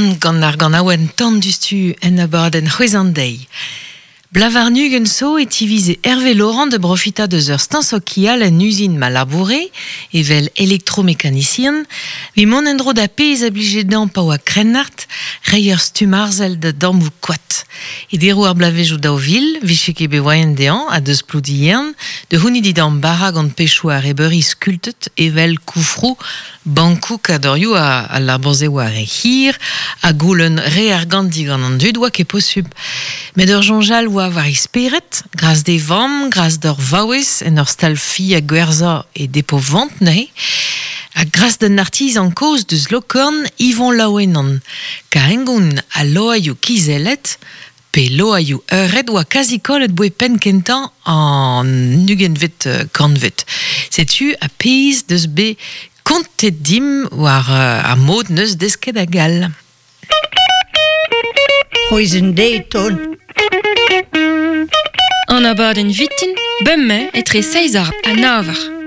Lan gant ar ganaouenn Tan dustu en abadenn C'hwezh an deiz. Blavarnugent zo e tivize Hervé Laurent da brofitañ deus ur steuñv sokial en uzin ma laboure, evel elektromekanisian, evit mont en-dro da pezh a blije dezhañ pa oa krennard, reiñ ur stumm arzel da dammoù koad. E deroù ar bloavezhioù 2000 vije ket bet voaien dezhañ ha deus Ploudiern da c'hounit e damm bara gant pechoù arrebeuri skultet evel koufroù Bankoù kadorioù al labour-se oa re hir ha goulenn re argant digant an dud oa ket posubl. Met ur soñj all oa war e spered, gras d'e vamm, gras d'ur vaouez en ur stal-fi ha gwerzhañ e depo-vent neuze, ha gras d'un artizan kozh deus Lokorn, Yvon Laouenan. Kar hengoun al loaioù kizellet, pe loaioù eured oa kazi kollet boe penn kentañ an ugentvet kantved. Setu ar pezh deus bet kontet dimp war ar mod neus desket hag all. C'hwezh deiz taol. An abadenn vitin, bemdez etre seizh eur ha nav eur.